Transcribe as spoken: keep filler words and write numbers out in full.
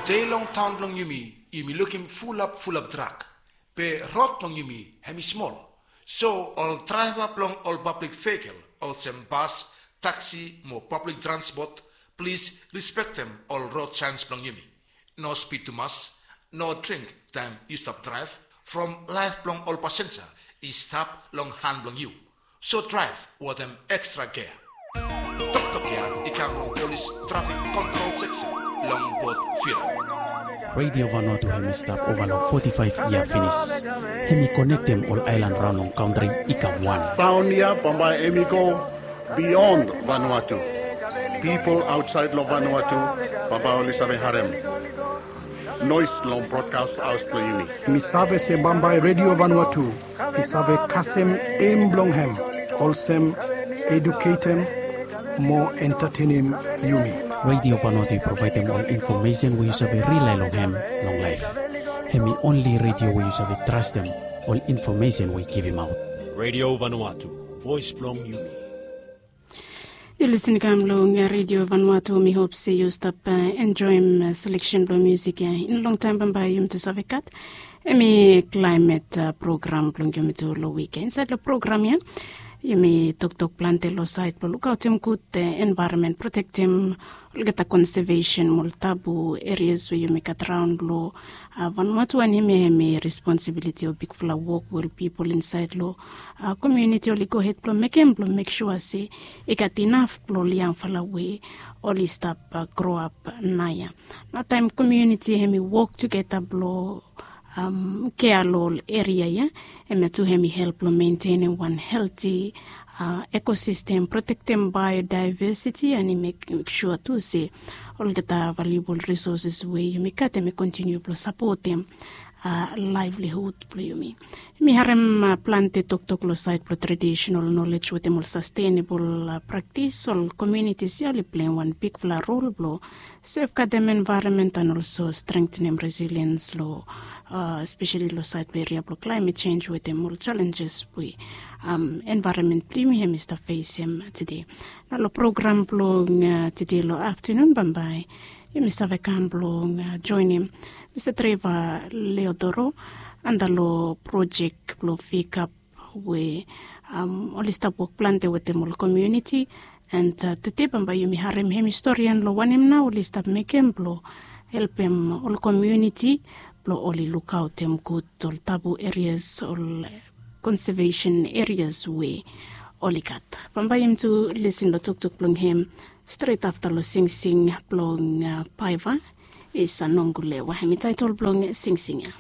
Tude long taon blong yumi, yumi lukim fulap fulap drak. Be rod blong yumi hem i smol. So ol draeva blong ol pablik vehikel olsem bas, taksi mo pablik transpot, plis respektem ol rod saens blong yumi. No spid tumas, no dring taem yu stap draev, from laef blong ol pasenja i stap long han blong yu. So draev wetem ekstra gea. Toktok ya i kam long polis trafik kontrol seksen long Port Vila. Radio Vanuatu hem i stap ova long foti faef yia finis. Hem i konektem ol aelan raon long kantri i kam wan. Saon ya bambae hem i go bion Vanuatu. Pipol aotsaed long Vanuatu bambae oli save harem noes long brodkas haos blong yumi. Mi save se bambae Radio Vanuatu i save kasem eim blong hem, olsem eduketem mo entatenem yumi. Radio Vanuatu i provaedem ol infomesen we yu save rilae long hem long laef. Hem i onli radio we yu save trastem ol infomesen we i givimaot. Radio Vanuatu, voes blong yumi. Yu lisin kam long Radio Vanuatu, mi hop se yu stap enjoem seleksen blong musik ya. In longtaem bambae yumi tu save gat hem i klaemet program blong yumi tu long wik ya. Insaed long program ya yumi toktok plante long saed blong lukaotem gud envaeronmen, protektem olgeta konsevesen mo ol tabu erias we yumi gat raon long Vanuatu. Wanem ya hem i responsibiliti o bigfala wok we ol pipol insaed long komuniti oli gohed blong mekem blong mek sua se i gat inaf blong ol yangfala we oli stap groap naoia. Nao taem komuniti hem i wok tugeta blong kea long ol eria ya, hemia tu hem i help long mentenem wan helti ekosistem, protektem baeodaevesiti, and i mek sua tu se olgeta valuebol risoses we yumi gat hem i kontiniu blong sapotem laevlihud blong yumi. Yumi harem plante toktok long saed blong tradisenal nolej wetem ol sastenebol praktis. Ol komunitis ya oli pleim wan bigfala rol blong sefgadem envaeronmen and olso strengtenem resiliens long espeseli long saed blong eria blong klaemet jenj wetem ol jalenjes we envaeronmen blong yumi hem i stap fesem tede. Nao long program blong tede long aftenun bambae yumi save kam blong joenem Mista Treva Leodoro anda long projek blong pikap we oli stap wok plante wetem ol komuniti. And tede bambae yumi harem hem i storian long wanem nao oli stap mekem blong helpem ol komuniti blong oli lukaotem gud ol tabu erias, ol konsevesen erias we oli gat. Bambae yumi tu lisin long toktok blong hem stret afta long singsing blong Paiva Isa Nongulewa, hem i taetol blong singsing ya.